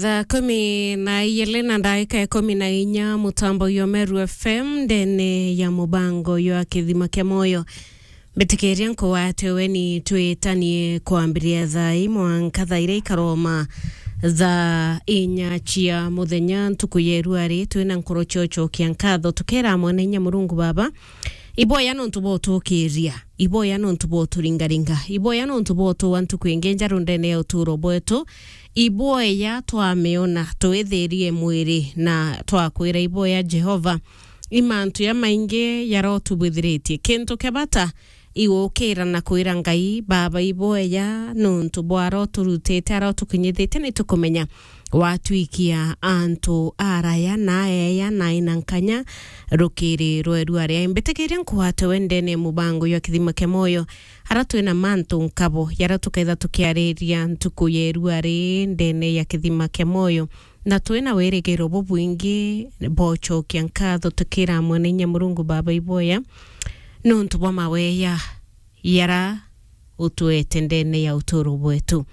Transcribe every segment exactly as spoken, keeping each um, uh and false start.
Thaa kumi na ijiri na ndagika ikumi na inya, mutambo yo Meru F M, ndene ya mubango yo Kithima kia Moyo. Mbitikiria nkuwate weni twitanie kwambiria thaa imwe mwanka thaa iria ikaroma thaa inya cia muthenya, ntuku ya irua ri, twina nkoro cio cokia nkatho, tukera Mwene Inya Murungu Baba, iboya nontu bwa utukiria, iboya nontu bwa uturingaringa, iboya nontu bwa utua ntuku ingi njeru ndene ya uturo bwetu, iboya twamiona, twithirie mwiri na twakwira iboya Jehova. I mantu jamaingi jarotubwithiritie. Kintu kia bata, igukira na kwira Ngai, Baba, iboya nontu bwa aroturutite, arotukinyithitie, ni tukumenya watwikia antu araya na aeya na ina nkanya rukiri rwa irua ria. Mbitikiria nkuwate we ndene ya mubango ya Kithima kia Moyo, ara twina mantu nkabo, yara tukaitha tukiariria ntuku ya irua ri ndene ya Kithima kia Moyo. Na twina wirigiro bubwingi bwa ucokia nkatho, tukira Mwene Inya Murungu Baba iboya nontu bwa maweya yara utwete ndene ya uturo bwetu.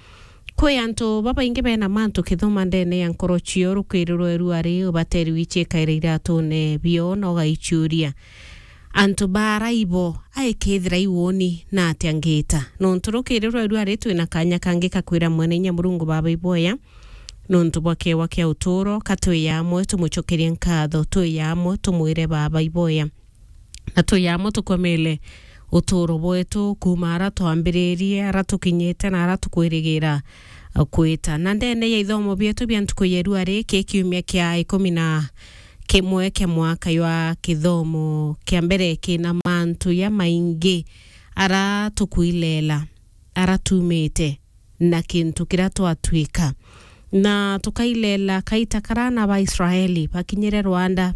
Kwi antu babaingi bena mantu kithoma ndene ya nkoro cio, rukiri rwa irua ri, ubateri wichikaira iratune bio na ugaichuria, antu bara ibo, aikethira iwoni na atia ngita? Nontu rukiri rwa irua ri, twina kanya kangi kakwira Mwene Inya Murungu Baba iboya nontu bwa kewa kia uturo, ka twi amwe tumucokerie nkatho, twi amwe tumwire Baba iboya, na twi amwe tukomele uturo bwetu kuuma ara twambiririe, ara tukinyite na ara tukwirigira kwita. Na ndene ya ithomo bietu bia ntuku ya irua ri, ki kiumia kia ikumi na kimwe kia mwaka jwa kithomo kia mbere, kina mantu jamaingi ara tukwilela, ara tumite, na kintu kiria twatwika. Na tukailela kaita karia aana ba Israeli bakinyire rwanda,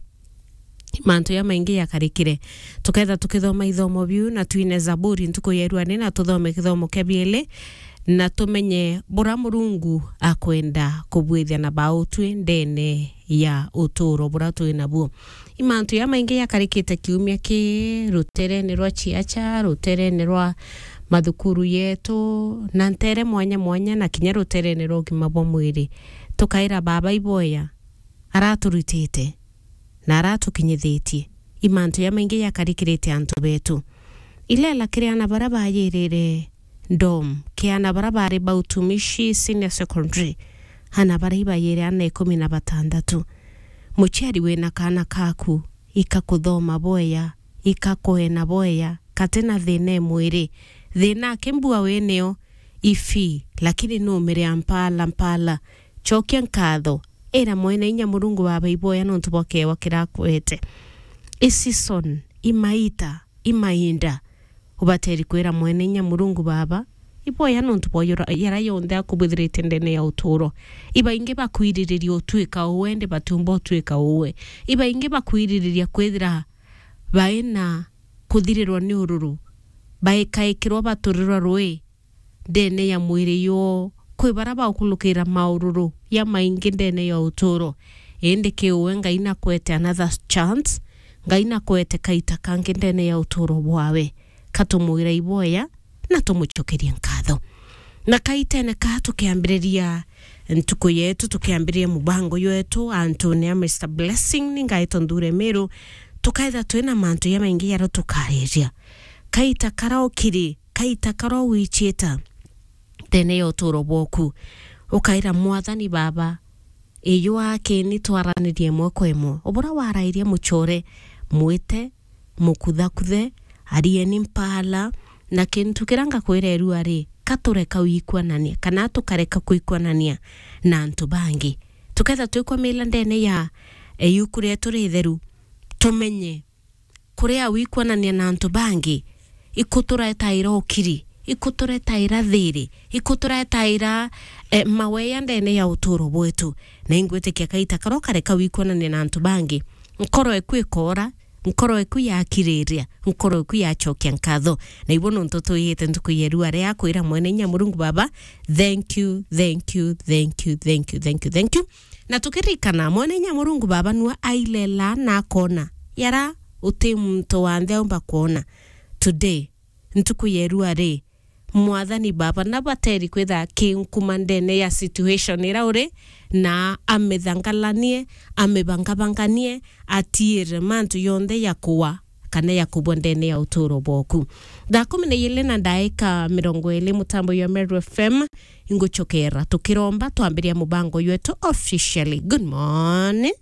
mantu jamaingi jakarikire. Tuketha tukithoma ithomo biu na twine Zaburi ntuku ya irua ri, na tuthome kithomo kia bieli, na tumenye buria Murungu akwenda kubwithia na bautwi ndene ya uturo buria twi nabuo. I mantu jamaingi jakarikite kiumia ki ruterene rwa ciaca, ruterene rwa mathukuru yetu, na ntere mwanya mwanya, na kinya ruterene rwa ugima bwa mwiri. Tukaira Baba iboya, araturutite na aratukinyithitie. I mantu jamaingi jakarikirite antu betu. Ilela kiri aana baria bayirire Dom, ki aana baria bari ba Utumishi Senior Secondary, aana baria ibayire aana ikumi na batandatu. Muciari wina kaana kaku, ika kuthoma bwega, ika kwena bwega, kati na thina e mwiri. Thina aki mbua winio, ifi, lakini numire mpala, mpala. Cokia nkatho, ira Mwene Inya Murungu Baba iboya nontu bwa kewa kirakwete. I season, i maita, i mainda, ubateri kwira Mwene Inya Murungu Baba iboya nontu bwa yora-, yara yonthe akubwithirite ndene ya uturo. Ibaingi bakwiririria utwika uwe, ndi batiumba utwika uwe. Ibaingi bakwiririria kwithira baina kuthirirwa ni ururu, baikaikirwa baturirwa rui ndene ya mwiri yoo. Kwi bara baukulukira maururu ya maingi ndene ya uturo, indi ki uwe Ngai nakwete another chance, Ngai nakwete kaita kangi ndene ya uturo bwawe. Katumwira iboya na tumucokerie nkatho. Na kaitene ka tukiambiriria ntuku yetu, tukiambiriria mubango yetu, antune a Mister Blessing, ni ngaitwa Nthure Miru, tukaitha twina mantu jamaingi jaria tukariria. Kaita karaukiri, kaita karawichita ndene ya uturo bwoku, ukaira Mwathani Baba, iyua akini twaranirie imwe kwa imwe. Ubura warairie mucore, mwite, mukuthakuthe, arieni mpala, na kintu kiria ngakwira irua ri, katureka wikwanania, kana tukareka kwikwanania na antu bangi. Tuketha twikwamila ndene ya, e, yuku rietu ritheru, tumenye kuria wikwanania na antu bangi, ikuturetaira ukiri, ikuturetaira thiri, ikuturetaira, eh, maweya ndene ya uturo bwetu. Na ingwitikia kaita karia ukareka wikwanania na antu bangi, nkoro eku ikora, nkoro eku yakiriria, nkoro eku yacokia nkatho. Na ibo nontu twiyite ntuku ya irua ria kwira Mwene Inya Murungu Baba, thank you, thank you, thank you, thank you, thank you, thank you. Na tukiririkana, Mwene Inya Murungu Baba nua ailela na akona yara uti muntu wanthe aumba kwona. Today, ntuku ya irua ri, Mwathani Baba, na bateri kwitha akinkuma ndene ya situation ira uri, na amithangalanie, amibangabanganie, atiire mantu yonthe ya kuwa kana ya kubwa ndene ya uturo bwoku. Thaa kumi na ijiri na ndaika mirongo iri, mutambo ya Meru F M, inguchokera tukiromba twambiria mubango ywetu officially. Good morning.